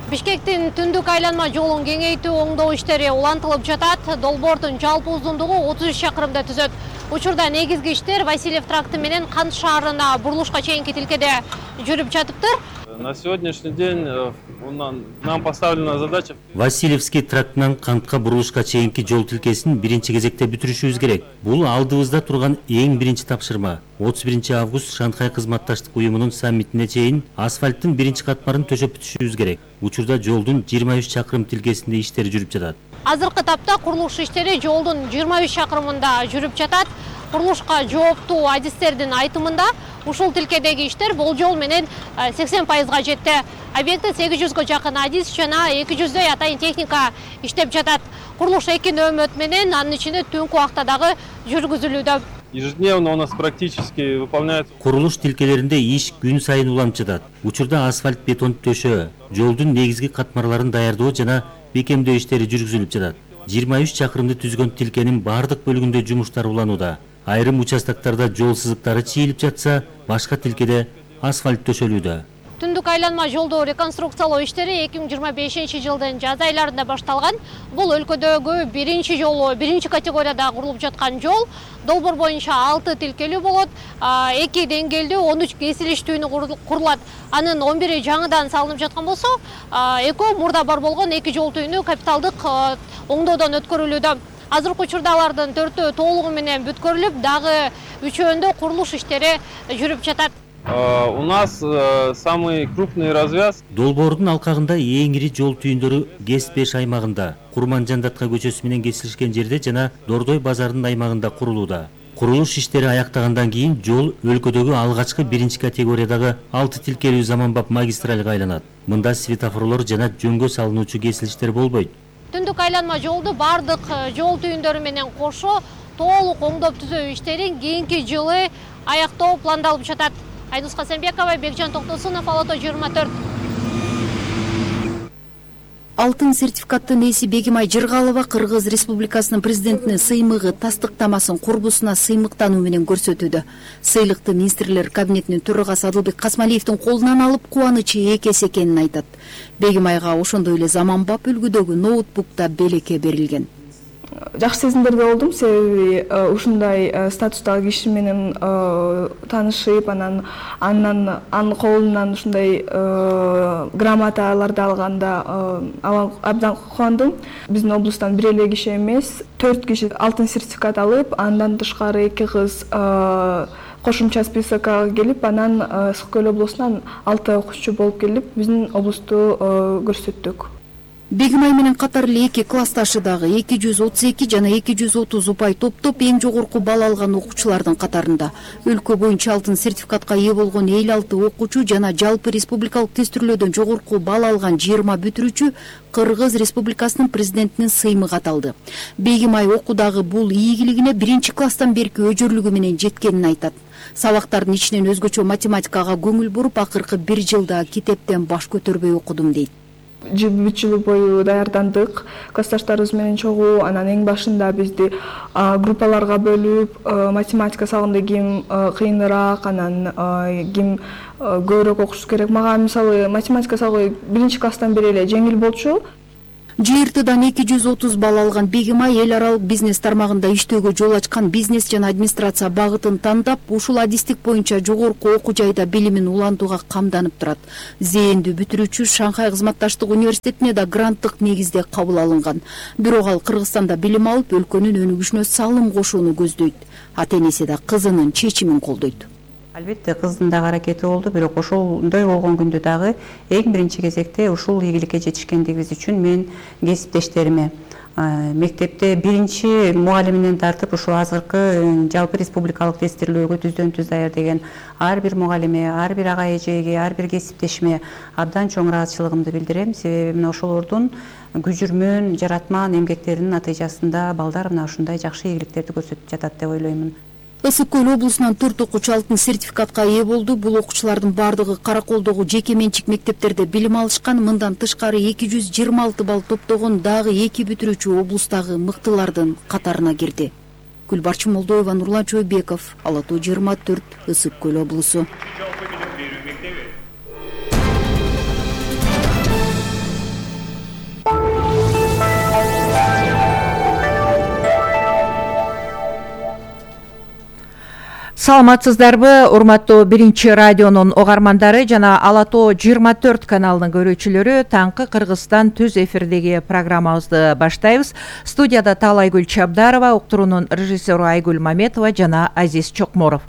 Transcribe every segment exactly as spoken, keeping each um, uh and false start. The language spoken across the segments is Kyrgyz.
Бишкектин түндүк айланма жолун кеңейтүү оңдоо иштери улантылып жатат. Долбоордун жалпы узундугу отуз үч чакырымды түзөт. Учурда негизги иштер Васильев тракты менен Кант шаарына бурулушка чейинки тилкеде жүрүп жатыптыр. На сегодняшний день нам поставлена задача. Васильевский трактынан Кантка бурулушка чейинки жол тилкесин биринчи кезекте бүтүрүшүбүз керек. Бул алдыбызда турган эң биринчи тапшырма. отуз биринчи август Шанхай кызматташтык уюмунун саммитине чейин асфальттын биринчи катмарын төшөп бүтүшүбүз керек. Учурда жолдун жыйырма үч чакырым тилкесинде иштер жүрүп жатат. Азыркы тапта курулуш иштери жолдун жыйырма үч чакырымында жүрүп жатат. Курулушка жооптуу адистердин айтымында ушул тилкедеги иштер болжол менен сексен пайызга жетти. Объектте сегиз жүзгө жакын адис жана эки жүздөй атайын техника иштеп жатат. Курулуш эки нөөмөт менен анын ичинде түнкү убакта дагы жүргүзүлүүдө. Ежедневно у нас практически выполняется. Курулуш тилкелеринде иш күн сайын уланып жатат. Учурда асфальт бетон төшөө, жолдун негизги катмарларын даярдоо жана бекемдөө иштери жүргүзүлүп жатат. жыйырма үч чакырымды түзгөн тилкенин бардык бөлүгүндө жумуштар уланууда. Айрым участоктарда жол сызыктары чийилип жатса, башка тилкеде асфальт төшөлүүдө. Түндүк айланма жолду реконструкциялоо иштери эки миң жыйырма бешинчи жылдын жаз айларында башталган. Бул өлкөдөгү биринчи жолу, биринчи категорияда курулуп жаткан жол. Долбоор боюнча алты тилкелүү болот, эки деңгээлдүү он үч кесилиш түйүнү курулат. Анын он бири жаңыдан салынып жаткан болсо, экөө мурда бар болгон эки жол түйүнү капиталдык оңдоодон өткөрүлүүдө. Азыркы учурда алардын төртөө толугу менен бүткөрүлүп, дагы үчөөндө курулуш иштери жүрүп жатат. У нас самый крупный развяз. Долбоордун алкагында эң ири жол түйүндөрү ГЭС беш аймагында, Курман-Жандатка көчөсү менен кесилишкен жерде жана Дордой базарынын аймагында курулууда. Курулуш иштери аяктагандан кийин жол өлкөдөгү алгачкы биринчи категориядагы алты тилкелүү заманбап магистралга айланат. Мында светофорлор жана жөнгө салынуучу кесилиштер болбойт. Түндүк айланма жолду бардык жол түйүндөрү менен кошо толук оңдоп түзөө иштерин кийинки жылы аяктоо пландалып жатат. Айнус Касенбекова, Бекжан Токтосунов, Ала Тоо жыйырма төрт. Алтын сертификаттын ээси Бегимай Жыргалова Кыргыз Республикасынын президентинин сыймыгы тастыктамасын курбусуна сыймыктануу менен көрсөтүүдө. Сыйлыкты министрлер кабинетинин төрагасы Адылбек Касмалиевдин колунан алып кубанычы эки эсе экенин айтат. Бегимайга ошондой эле заманбап үлгүдөгү ноутбукта белекке берилген. Жакшы сезимдерде болдум, себеби ушундай статустагы киши менен таанышып, анан андан анын колунан ушундай грамоталарды алганда абдан кубандым. Биздин облустан бир эле киши эмес, төрт киши алтын сертификат алып, андан тышкары эки кыз кошумча списокко келип, анан Ысык-Көл облусунан алты окуучу болуп келип, биздин облусту көрсөттүк. Бегимай менен катар эле эки классташы дагы эки жүз отуз эки жана эки жүз отуз упай топтоп эң жогорку балл алган окуучулардын катарында. Өлкө боюнча алтын сертификатка ээ болгон элүү алты окуучу жана жалпы республикалык тестирлөөдөн жогорку балл алган жыйырма бүтүрүүчү Кыргыз Республикасынын президентинин сыймыгы аталды. Бегимай окуудагы бул ийгилигине биринчи класстан берки өжөрлүгү менен жеткенин айтат. Сабактардын ичинен өзгөчө математикага көңүл буруп, акыркы бир жылда китептен баш көтөрбөй окудум дейт. Үч жыл бою даярдандык, классташтарыбыз менен чогуу, анан эң башында бизди группаларга бөлүп, математика сабагында ким кыйыныраак, анан ким көбүрөөк окуш керек. Мага мисалы математика сабагы биринчи класстан бери эле жеңил болчу. ЖРТдан эки жүз отуз балл алган Бегимай эл аралык бизнес тармагында иштөөгө жол ачкан бизнес жана администрация багытын тандап, ушул адистик боюнча жогорку окуу жайда билимин улантууга камданып турат. Зээндүү бүтүрүүчү Шанхай кызматташтык университетине да гранттык негизде кабыл алынган. Бирок ал Кыргызстанда билим алып, өлкөнүн өнүгүшүнө салым кошууну көздөйт. Ата-энеси да кызынын чечимин колдойт. Албетте кыздын дагы аракети болду, бирок ошондой болгон күндө дагы эң биринчи кезекте ушул ийгиликке жетишкендигибиз үчүн мен кесиптештериме, мектепте биринчи мугалиминен тартып ушул азыркы жалпы республикалык тестирлөөгө түздөн түз даяр деген ар бир мугалиме, ар бир ага эжеге, ар бир кесиптешиме абдан чоң ыраазычылыгымды билдирем. Себеби мына ошолордун күжүрмөн, жаратман эмгектеринин натыйжасында балдар мына ушундай жакшы ийгиликтерди көрсөтүп жатат деп ойлоймун. Ысык-Көл облусунан төрт окуучу алтын сертификатка ээ болду. Бул окуучулардын бардыгы Караколдогу жеке менчик мектептерде билим алышкан. Мындан тышкары эки жүз жыйырма алты балл топтогон дагы эки бүтүрүүчү облустагы мыктылардын катарына кирди. Гүлбарчын Молдоева, Нурлан Чойбеков, Ала Тоо жыйырма төрт, Ысык-Көл облусу. Саламатсыздарбы, урматтуу биринчи радионун огармандары жана Ала Тоо жыйырма төрт каналынын көрүүчүлөрү. Таңкы Кыргызстан түз эфирдеги программабызды баштайбыз. Студияда Таалайгүл Чабдарова, уктуруунун режиссеру Айгүл Маметова жана Азиз Чокморов.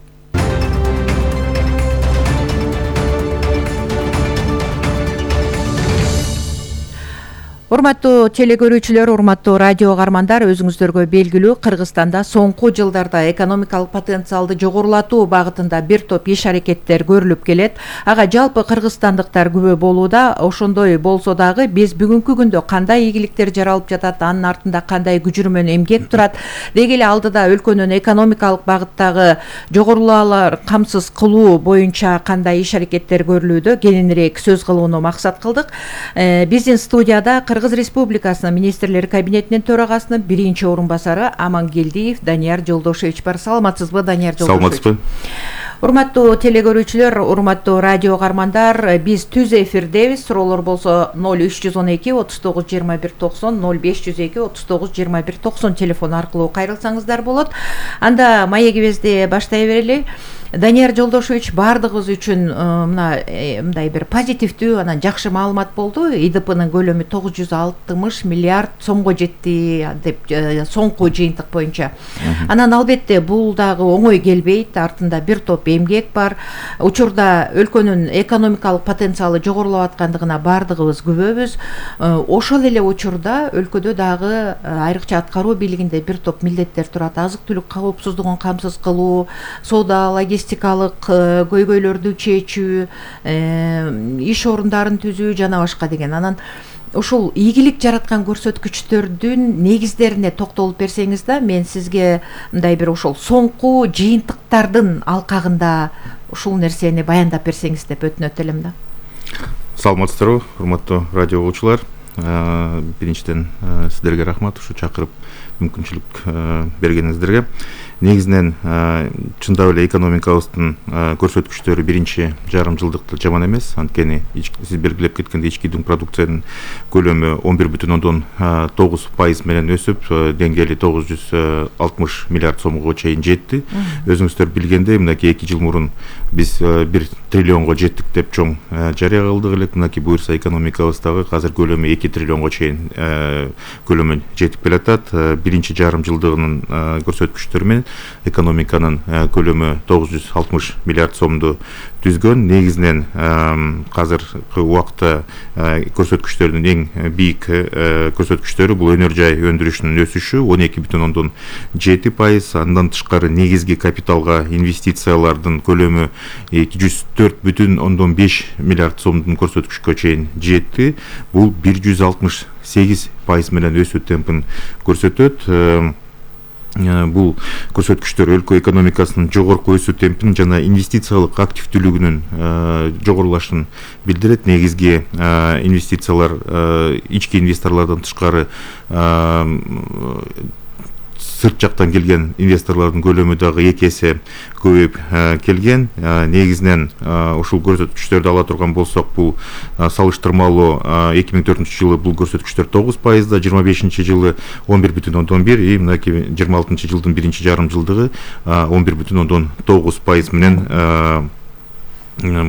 Урматтуу телекөрүүчүлөр, урматтуу радио огармандар, өзүңүздөргө белгилүү Кыргызстанда соңку жылдарда экономикалык потенциалды жогорулатуу багытында бир топ иш аракеттер көрүлүп келет. Ага жалпы кыргызстандыктар күбө болууда. Ошондой болсо дагы биз бүгүнкү күндө кандай ийгиликтер жаралып жатат, анын артында кандай күжүрмөн эмгек турат, деги эле алдыда өлкөнүн экономикалык багыттагы жогорулаалар камсыз кылуу боюнча кандай иш аракеттер көрүлүүдө кененирээк сөз кылууну максат кылдык. Биздин студияда Кыргыз Республикасынын министрлер кабинетинин төрагасынын биринчи орун басары Амангелдиев Данияр Жолдошевич бар. Саламатсызбы, Данияр Жолдошевич? Саламатсызбы. Урматтуу телекөрүүчүлөр, урматтуу радио огармандар, биз түз эфирдебиз. Суроолор болсо ноль үч жүз он эки отуз тогуз жыйырма бир токсон, ноль беш жүз эки отуз тогуз жыйырма бир токсон телефон аркылуу кайрылсаңыздар болот. Анда маегибизди баштай берели. Данияр Жолдошевич, баардыгыбыз үчүн мына мындай бир позитивдүү, анан жакшы маалымат болду. И Д П'нын көлөмү тогуз жүз алтымыш миллиард сомго жетти деп соңку жыйынтык боюнча. Анан албетте бул дагы оңой келбейт. Артында бир топ эмгек бар. Учурда өлкөнүн экономикалык потенциалы жогорулап аткандыгына баардыгыбыз күбөбүз. Ошол эле учурда өлкөдө дагы айрыкча аткаруу бийлигинде бир топ милдеттер турат. Азык-түлүк коопсуздугун камсыз кылуу, соода, логистикалык көйгөйлөрдү чечүү, иш орундарын түзүү жана башка деген. Анан ушул ийгилик жараткан көрсөткүчтөрдүн негиздерине токтолуп берсеңиз да, мен сизге мындай бир ошол соңку жыйынтыктардын алкагында ушул нерсени баяндап берсеңиз деп өтүнөт элем да. Саламатсыздарбы, урматтуу радио угуучулар. Биринчиден сиздерге рахмат ушу чакырып мүмкүнчүлүк бергениңиздерге. Негизинен чындап эле экономикабыздын көрсөткүчтөрү биринчи жарым жылдыкта жаман эмес. Анткени сиз белгилеп кеткендей ички дүң продукциянын көлөмү он бир бүтүн ондон тогуз пайыз менен өсүп, деңгээли тогуз жүз алтымыш миллиард сомго чейин жетти. Өзүңүздөр билгендей, мынакей эки жыл мурун биз бир триллионго жеттик деп чоң жарыя кылдык элек. Мынакей буюрса экономикабыздагы азыр көлөмү эки триллионго чейин көлөмү жетип келатат. Биринчи жарым жылдыгынын көрсөткүчтөрү менен экономиканын көлөмү тогуз жүз алтымыш миллиард сомду түзгөн. Негизинен азыркы убакта көрсөткүчтөрдүн эң бийик көрсөткүчтөрү бул өнөр жай өндүрүшүнүн өсүшү он эки бүтүн ондон жети пайыз. Андан тышкары негизги капиталга инвестициялардын көлөмү эки жүз төрт бүтүн ондон беш миллиард сомдун көрсөткүчкө чейин жетти. Бул бир жүз алтымыш сегиз пайыз менен өсүү темпин көрсөтөт. Бул көрсөткүчтөр өлкө экономикасынын жогорку өсүү темпин жана инвестициялык активдүүлүгүнүн жогорулашын билдирет. Негизги инвестициялар ички инвесторлордон тышкары сырт жактан келген инвесторлордун көлөмү дагы эки эсе көбөйүп келген. Негизинен ушул көрсөткүчтөрдү ала турган болсок, бул салыштырмалуу эки миң төртүнчү жылы бул көрсөткүчтөр тогуз пайызда, жыйырма бешинчи жылы он бир бүтүн ондон бир, и мынакей жыйырма алтынчы жылдын биринчи жарым жылдыгы он бир бүтүн ондон тогуз пайыз менен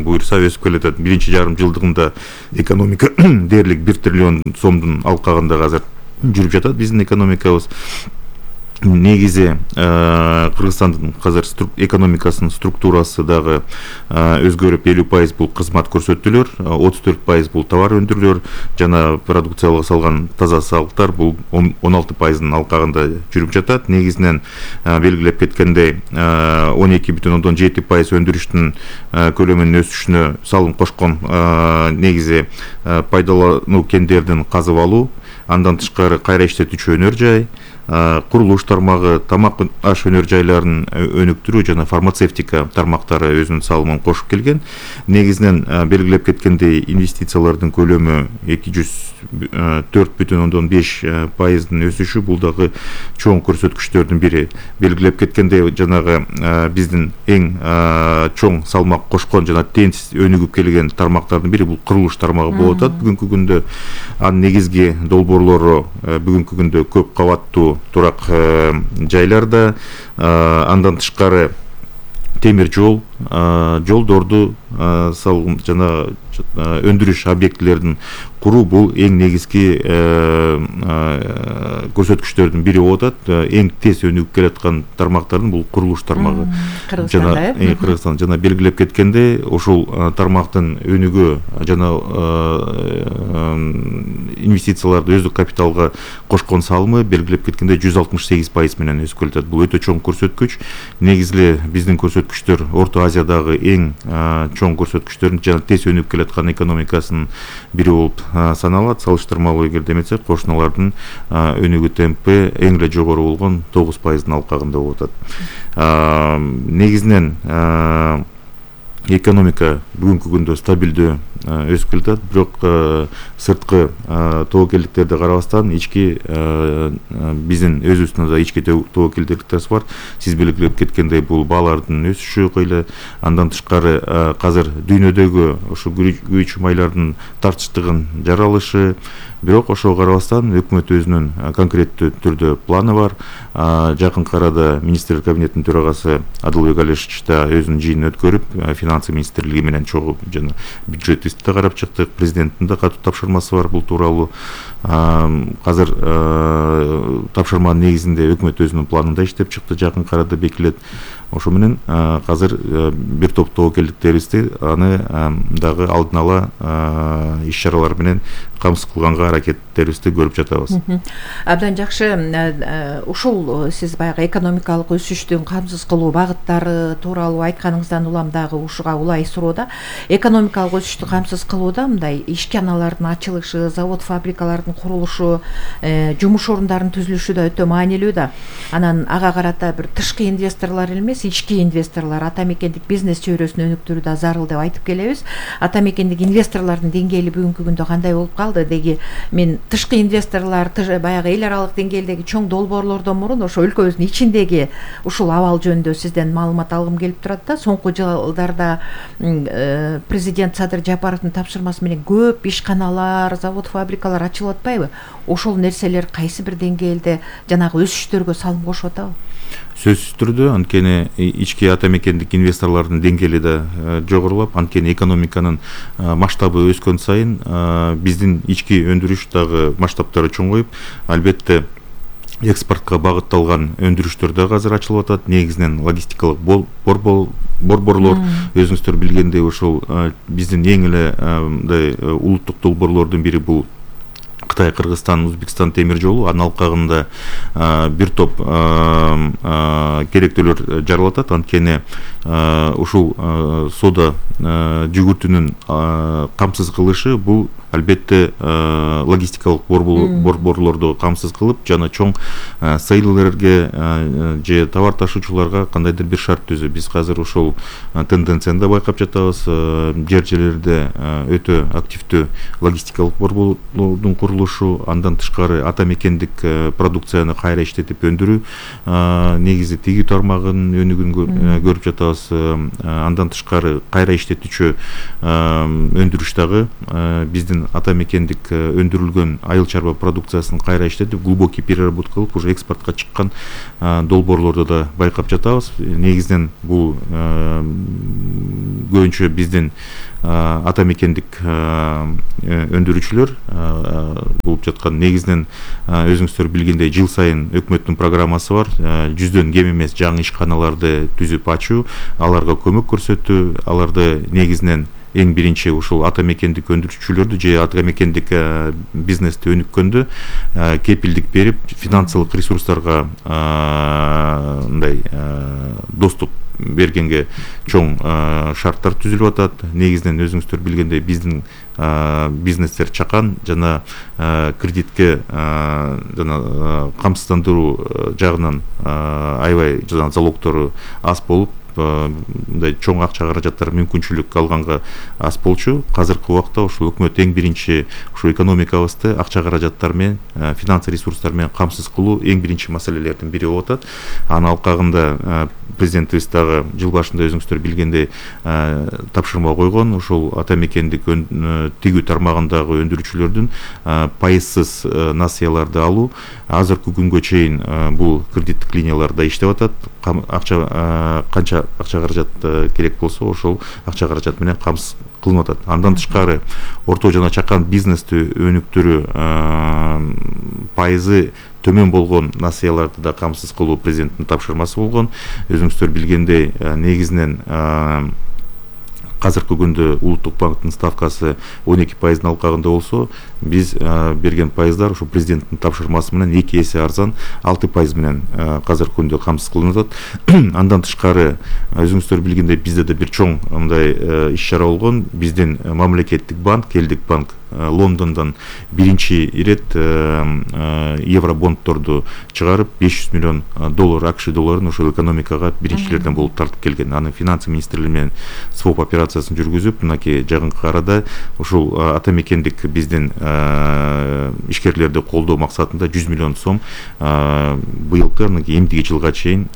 буюрса өсүп келатат. Биринчи жарым жылдыгында экономика дээрлик бир триллион сомдун алкагында азыр жүрүп жатат биздин экономикабыз. Негизи Кыргызстандын азыр экономикасынын структурасы дагы өзгөрүп, элүү пайыз бул кызмат көрсөтүүлөр, отуз төрт пайыз бул товар өндүрүүлөр жана продукциялык салган таза салыктар бул он алты пайыздын алкагында жүрүп жатат. Негизинен белгилеп кеткендей он эки бүтүн ондон жети пайыз өндүрүштүн көлөмүнүн өсүшүнө салым кошкон негизи пайдалануу кендердин казып алуу, андан тышкары кайра иштетүүчү өнөр жай, курулуш тармагы, тамак аш өнөр жайларын өнүктүрүү жана фармацевтика тармактары өзүнүн салымын кошуп келген. Негизинен белгилеп кеткендей инвестициялардын көлөмү эки жүз төрт бүтүн ондон беш пайыздын өсүшү бул дагы чоң көрсөткүчтөрдүн бири. Белгилеп кеткендей, жанагы биздин эң чоң салмак кошкон жана тенч өнүгүп келген тармактардын бири бул курулуш тармагы болуп атат. Бүгүнкү күндө анын негизги долбоорлору бүгүнкү күндө көп кабаттуу турак жайларда, андан тышкары темир жол, жолдорду салгын жана өндүрүш объектилерин куруу бул эң негизги көрсөткүчтөрдүн бири болуп атат. Эң тез өнүгүп келаткан тармактардын бул курулуш тармагы. Кыргызстанда э? Кыргызстан жана белгилеп кеткенде ушул тармактын өнүгүү жана инвестицияларды өздүк капиталга кошкон салымы белгилеп кеткенде жүз алтымыш сегиз пайыз менен өсүп келатат. Бул өтө чоң көрсөткүч. Негизги биздин көрсөткүчтөр Орто Азиядагы эң чоң көрсөткүчтөрдүн жана тез өнүгүп келаткан экономикасынын бири болуп саналат. Салыштырмалуу эгерде эметсек, кошуналардын өнүгүү темпи эң эле жогору болгон тогуз пайыздын алкагында болуп атат. Негизинен экономика бүгүнкү күндө стабилдүү өсүп келатат, бирок сырткы тобокелдиктерди карабастан ички биздин өзүбүздүн да ички тобокелдиктер бар. Сиз белгилеп кеткендей, бул баалардын өсүшү кыйла, андан тышкары азыр дүйнөдөгү ушу күйүүчү майлардын тартычтыгын жаралышы, бирок ошого карабастан өкмөт өзүнүн конкреттүү түрдө планы бар. Жакынкы арада министрлер кабинетинин төрагасы Адылбек Алишевич да өзүнүн жыйынын өткөрүп, финансы министрлиги менен чогуу жана бюджет да карап чыктык. Президенттин да катуу тапшырмасы бар бул тууралуу. Азыр тапшырманын негизинде өкмөт өзүнүн планында иштеп чыкты, жакынкы арада бекилет. Ошо менен азыр бир топ тобокелдиктерибизди аны дагы алдын ала иш чаралар менен камсыз кылганга аракеттерибизди көрүп жатабыз. Абдан жакшы. Ушул сиз баягы экономикалык өсүштүн камсыз кылуу багыттары тууралуу айтканыңыздан улам дагы ушуга улай суроода, экономикалык өсүштү камсыз кылууда мындай ишканалардын ачылышы, завод фабрикалардын курулушу, жумуш орундарын түзүлүшү да өтө маанилүү да. Анан ага карата бир тышкы инвесторлор эмес, ички инвесторлор ата мекендик бизнес чөйрөсүн өнүктүрүү да зарыл деп айтып келебиз. Ата мекендик инвесторлордун деңгээли бүгүнкү күндө кандай болуп калды? Деги мен тышкы инвесторлор баягы эл аралык деңгээлдеги чоң долбоорлордон мурун ошо өлкөбүздүн ичиндеги ушул абал жөнүндө сизден маалымат алгым келип турат да. Соңку жылдарда президент Садыр Жапаровдун тапшырмасы менен көп ишканалар, завод фабрикалар ачылып атпайбы? Ошол нерселер кайсы бир деңгээлде жанагы өсүштөргө салым кошуп атабы? Сөзсүз түрдө, анткени ички ата мекендик инвесторлордун деңгээли да жогорулап, анткени экономиканын масштабы өскөн сайын биздин ички өндүрүш дагы масштабтары чоңоюп, албетте экспортко багытталган өндүрүштөр дагы азыр ачылып атат. Негизинен логистикалык борборлор, өзүңүздөр билгендей, ушул биздин эң эле мындай улуттук долбоорлордун бири бул Кытай, Кыргызстан, Өзбекстан темир жолу. Анын алкагында бир топ керектүүлөр жаралып атат. Анткени ушул соода жүгүртүнүн камсыз кылышы бул албетте логистикалык борборлорду камсыз кылып, жана чоң сейлерлерге же товар ташуучуларга кандайдыр бир шарт түзүү. Биз азыр ушул тенденцияны да байкап жатабыз. Жер жерлерде өтө активдүү логистикалык борборлордун курулушу, андан тышкары ата мекендик продукцияны кайра иштетип өндүрүү негизи тигүү тармагынын өнүгүүн көрүп жатабыз. Андан тышкары кайра иштетүүчү өндүрүш дагы биздин ата мекендик өндүрүлгөн айыл чарба продукциясын кайра иштетип, глубокий переработка кылып, уже экспортко чыккан долбоорлорду да байкап жатабыз. Негизинен бул көбүнчө биздин ата мекендик өндүрүүчүлөр болуп жаткан. Негизинен өзүңүздөр билгендей, жыл сайын өкмөттүн программасы бар. Жүздөн кем эмес жаңы ишканаларды түзүп ачуу, аларга көмөк көрсөтүү, аларды негизинен эң биринчи ушул ата мекендик өндүрүүчүлөрдү же ата мекендик бизнести өнүккөндө кепилдик берип, финансылык ресурстарга мындай доступ бергенге чоң шарттар түзүлүп атат. Негизинен өзүңүздөр билгендей, биздин бизнестер чакан жана кредитке жана камсыздандыруу жагынан аябай жана залогтору аз болуп, мындай чоң акча каражаттар мүмкүнчүлүк алганга аз болчу. Азыркы убакта ушул өкмөт эң биринчи ушу экономикабызды акча каражаттар менен, финанс ресурстар менен камсыз кылуу эң биринчи маселелердин бири болуп атат. Анын алкагында президентибиз дагы жыл башында өзүңүздөр билгендей тапшырма койгон. Ушул ата мекендик тигүү тармагындагы өндүрүүчүлөрдүн пайызсыз насыяларды алуу. Азыркы күнгө чейин бул кредиттик линияларда иштеп атат. Акча канча акча каражат керек болсо ошол акча каражат менен камсыз кылынып атат. Андан тышкары орто жана чакан бизнести өнүктүрүү пайызы төмөн болгон насыяларды да камсыз кылуу президенттин тапшырмасы болгон. Өзүңүздөр билгендей, негизинен азыркы күндө улуттук банктын ставкасы он эки пайыздын алкагында болсо, биз берген пайыздар ошо президенттин тапшырмасы менен эки эсе арзан алты пайыз менен азыркы күндө камсыз кылынып атат. Андан тышкары өзүңүздөр билгендей, бизде да бир чоң мындай иш чара болгон. Биздин мамлекеттик банк, Элдик банк Лондондон биринчи ирет евробонддорду чыгарып, беш жүз миллион доллар АКШ долларын ошол экономикага биринчилерден болуп тартып келген. Аны финансы министрлиги менен своп операциясын жүргүзүп, мынакей жакынкы арада ошол ата мекендик биздин ишкерлерди колдоо максатында жүз миллион сом быйылкы эмдиги жылга чейин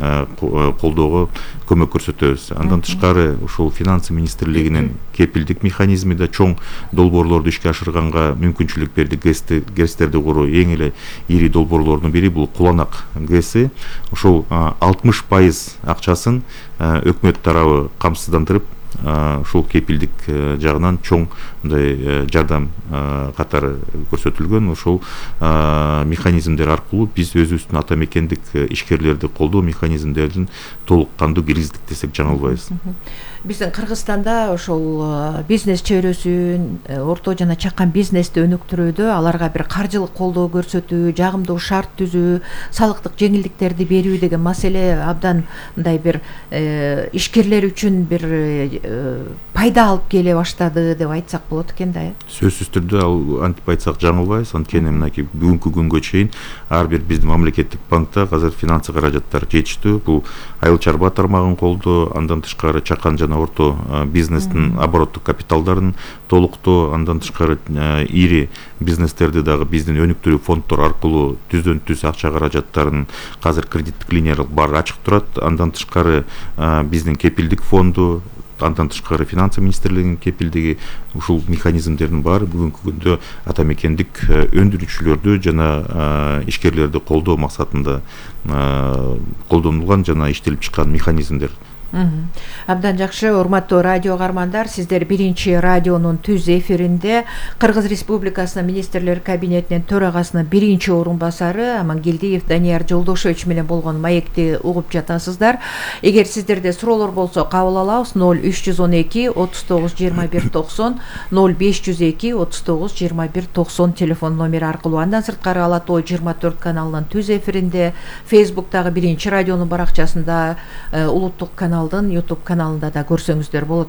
колдоого көмөк көрсөтөбүз. Андан тышкары ошол финансы министрлигинин кепилдик механизми да чоң долбоорлорду ишке ашырганга мүмкүнчүлүк берди. ГЭСтерди куруу эң эле ири долбоорлордун бири бул Куланак ГЭСи. Ошол алтымыш пайыз акчасын өкмөт тарабы камсыздандырып, ушул кепилдик жагынан чоң мындай жардам катары көрсөтүлгөн. Ошол механизмдер аркылуу биз өзүбүздүн ата мекендик ишкерлерди колдоо механизмдерин толук кандуу киргиздик десек жаңылбайбыз. Биздин Кыргызстанда ошол бизнес чөйрөсүн, орто жана чакан бизнести өнүктүрүүдө аларга бир каржылык колдоо көрсөтүү, жагымдуу шарт түзүү, салыктык жеңилдиктерди берүү деген маселе абдан мындай бир ишкерлер үчүн бир пайда алып келе баштады деп айтсак болот экен да. Сөзсүз түрдө ал антип айтсак жаңылбайбыз. Анткени мынакей бүгүнкү күнгө чейин ар бир биздин мамлекеттик банкта азыр финансы каражаттар жетиштүү. Бул айыл чарба тармагын колдоо, андан тышкары чакан жана орто бизнестин обороттук капиталдарын толуктоо, андан тышкары ири бизнестерди дагы биздин өнүктүрүү фонддор аркылуу түздөн түз акча каражаттарын азыр кредиттик линиялар бар ачык турат. Андан тышкары биздин кепилдик фонду, андан тышкары финансы министрлигинин кепилдиги, ушул механизмдердин баары бүгүнкү күндө ата мекендик өндүрүүчүлөрдү жана ишкерлерди колдоо максатында колдонулган жана иштелип чыккан механизмдер. Абдан жакшы, урматтуу радио каармандар, сиздер биринчи радионун түз эфиринде Кыргыз Республикасынын министрлер кабинетинин төрагасынын биринчи орун басары Амангелдиев Данияр Жолдошевич менен болгон маекти угуп жатасыздар. Эгер сиздерде суроолор болсо кабыл алабыз. ноль үч жүз он эки отуз тогуз жыйырма бир токсон, ноль беш жүз эки отуз тогуз жыйырма бир токсон телефон номери аркылуу. Андан сырткары Ала Тоо жыйырма төрт каналынын түз эфиринде, Фейсбуктагы биринчи радионун баракчасында, улуттук канал YouTube каналында да көрсөңүздөр болот.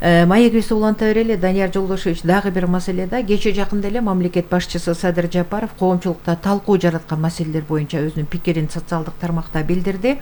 Маегибизди уланта берели. Данияр Жолдошевич, дагы бир маселеде кече жакында эле мамлекет башчысы Садыр Жапаров коомчулукта талкуу жараткан маселелер боюнча өзүнүн пикирин социалдык тармакта билдирди.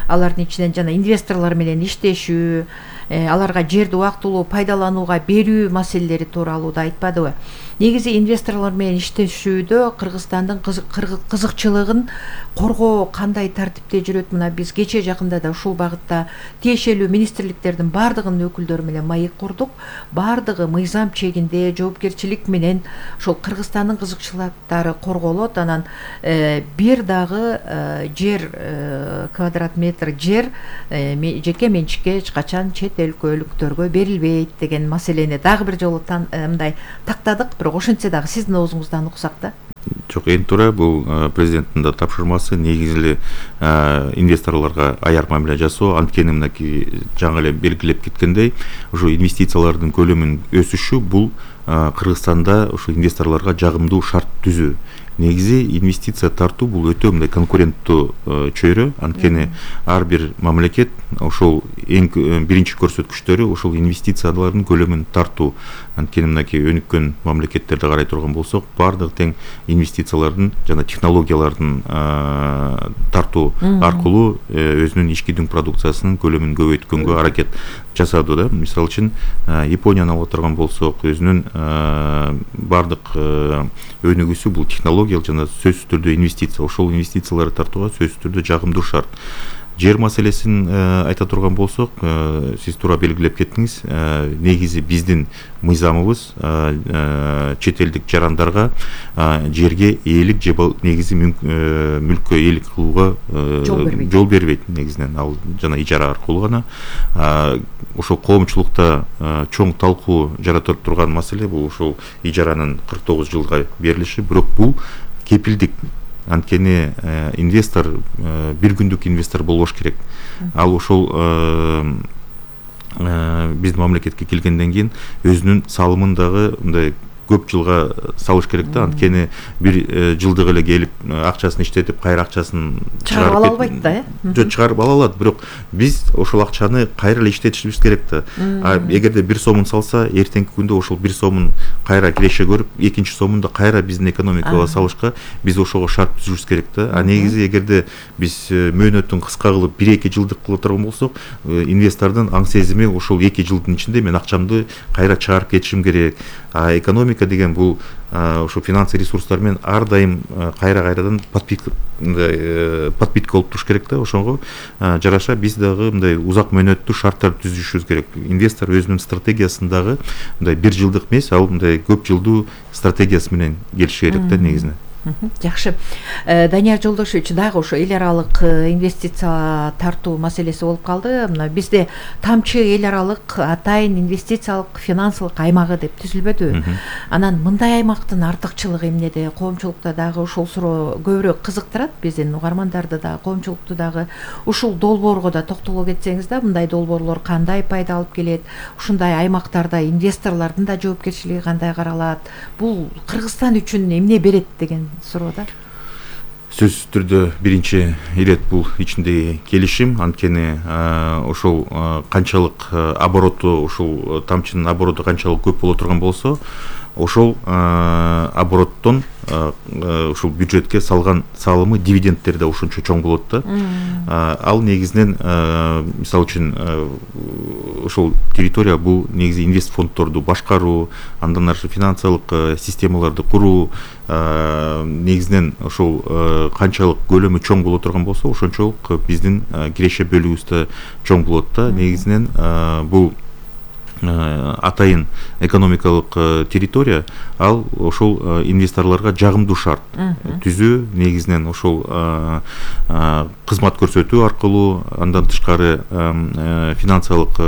Алардын ичинен жана инвесторлор менен иштешүү, аларга жерди убактылуу пайдаланууга берүү маселелери тууралуу да айтпадыбы? Негизи инвесторлор менен иштешүүдө Кыргызстандын кызыкчылыгын коргоо кандай тартипте жүрөт? Мына биз кече жакында да ушул багытта тиешелүү министрликтердин баардыгынын өкүлдөрү менен маек курдук. Баардыгы мыйзам чегинде жоопкерчилик менен ошол Кыргызстандын кызыкчылыктары корголот. Анан бир дагы жер, квадрат метр жер жеке менчикке эч качан чет өлкөлүктөргө берилбейт деген маселени дагы бир жолу мындай тактадык. Бирок ошентсе дагы сиздин оозуңуздан уксак да. Жок, эң туура, бул президенттин да тапшырмасы. Негизи эле инвесторлорго аяр мамиле жасоо. Анткени мынакей жаңы эле белгилеп кеткендей, ушу инвестициялардын көлөмүнүн өсүшү бул Кыргызстанда ушу инвесторлорго жагымдуу шарт түзүү. Негизи инвестиция тартуу бул өтө мындай конкуренттүү чөйрө. Анткени ар бир мамлекет ошол эң биринчи көрсөткүчтөрү ошол инвестициялардын көлөмүн тартуу. Анткени мынакей өнүккөн мамлекеттерди карай турган болсок, баардыгы тең инвестициялардын жана технологиялардын тартуу аркылуу өзүнүн ички дүң продукциясынын көлөмүн көбөйткөнгө аракет жасады да. Мисалы үчүн Японияны алып турган болсок, өзүнүн баардык өнүгүүсү бул технология жана сөзсүз түрдө инвестиция. Ошол инвестицияларды тартууга сөзсүз түрдө жагымдуу шарт. жер маселесин айта турган болсок, сиз туура белгилеп кеттиңиз. Негизи биздин мыйзамыбыз чет элдик жарандарга жерге ээлик же негизи мүлккө ээлик кылууга жол бербейт. Негизинен ал жана ижара аркылуу гана. Ошол коомчулукта чоң талкуу жарата турган маселе бул ошол ижаранын кырк тогуз жылга берилиши. Бирок бул кепилдик. Анткени инвестор бир күндүк инвестор болбош керек. Ал ошол биздин мамлекетке келгенден кийин өзүнүн салымын дагы мындай көп жылга салыш керек да. Анткени бир жылдык эле келип акчасын иштетип кайра акчасын чыгарып ала албайт да, э? Жок, чыгарып ала алат, бирок биз ошол акчаны кайра эле иштетишибиз керек да. А эгерде бир сомун салса, эртеңки күндө ошол бир сомун кайра киреше көрүп, экинчи сомун да кайра биздин экономикага салышка биз ошого шарт түзүшүбүз керек да. А негизи эгерде биз мөөнөтүн кыска кылып бир эки жылдык кыла турган болсок, инвестордун аң сезими ошол эки жылдын ичинде мен акчамды кайра чыгарып кетишим керек. А экономика деген бул ошо финансы ресурстар менен ар дайым кайра кайрадан подпитка подпитка болуп туруш керек да. Ошого жараша биз дагы мындай узак мөөнөттүү шарттарды түзүшүбүз керек. Инвестор өзүнүн стратегиясын дагы мындай бир жылдык эмес, ал мындай көп жылдуу стратегиясы менен келиши керек да негизинен. Жакшы. Данияр Жолдошевич, дагы ошо эл аралык инвестиция тартуу маселеси болуп калды. Мына бизде тамчы эл аралык атайын инвестициялык финансылык аймагы деп түзүлбөдүбү? Анан мындай аймактын артыкчылыгы эмнеде? Коомчулукта дагы ошол суроо көбүрөөк кызыктырат биздин угармандарды да, коомчулукту дагы. Ушул долбоорго да токтоло кетсеңиз да, мындай долбоорлор кандай пайда алып келет? Ушундай аймактарда инвесторлордун да жоопкерчилиги кандай каралат? Бул Кыргызстан үчүн эмне берет деген суроода? Сөзсүз түрдө биринчи ирет бул ичиндеги келишим. Анткени ошол канчалык обороту, ошол тамчынын обороту канчалык көп боло турган болсо, ошол обороттон ушул бюджетке салган салымы, дивидендтери да ошончо чоң болот да. Ал негизинен мисалы үчүн ошол территория бул негизи инвест фонддорду башкаруу, андан ары финансылык системаларды куруу, негизинен ошол канчалык көлөмү чоң боло турган болсо, ошончолук биздин киреше бөлүгүбүз да чоң болот да. Негизинен бул атайын экономикалык территория, ал ошол инвесторлорго жагымдуу шарт түзүү, негизинен ошол кызмат көрсөтүү аркылуу, андан тышкары финансылык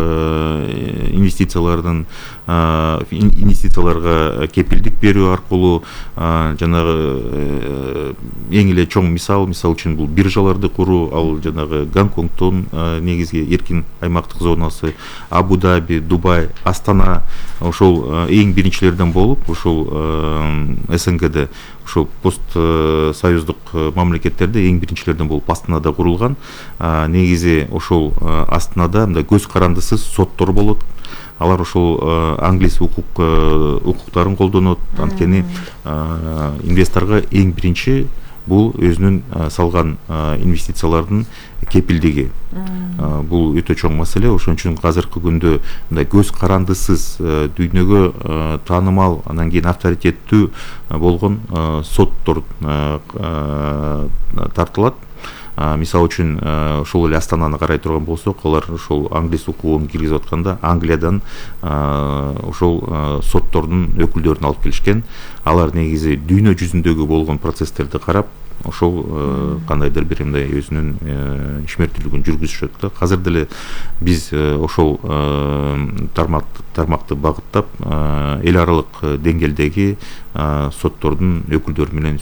инвестициялардын инвестицияларга кепилдик берүү аркылуу, жанагы эң эле чоң мисал, мисалы үчүн бул биржаларды куруу, ал жанагы Гонконгдон негизги эркин аймактык зонасы, Абу-Даби, Дубай, Астана, ошол эң биринчилерден болуп, ошол СНГде, ошол пост союздук мамлекеттерде эң биринчилерден болуп Астанада курулган. Негизи ошол Астанада мындай көз карандысыз соттор болот. Алар ошол англис укук укуктарын колдонот. Анткени инвесторго эң биринчи бул өзүнүн салган инвестициялардын кепилдиги. Бул өтө чоң маселе. Ошон үчүн азыркы күндө мындай көз карандысыз, дүйнөгө таанымал, анан кийин авторитеттүү болгон соттор тартылат. Мисалы үчүн ошол эле Астананы карай турган болсок, алар ошол англис укугун киргизип атканда Англиядан ошол соттордун өкүлдөрүн алып келишкен. Алар негизи дүйнө жүзүндөгү болгон процесстерди карап, ошол кандайдыр бир мындай өзүнүн ишмердүүлүгүн жүргүзүшөт да. Азыр деле биз ошол тармакты багыттап эл аралык деңгээлдеги соттордун өкүлдөрү менен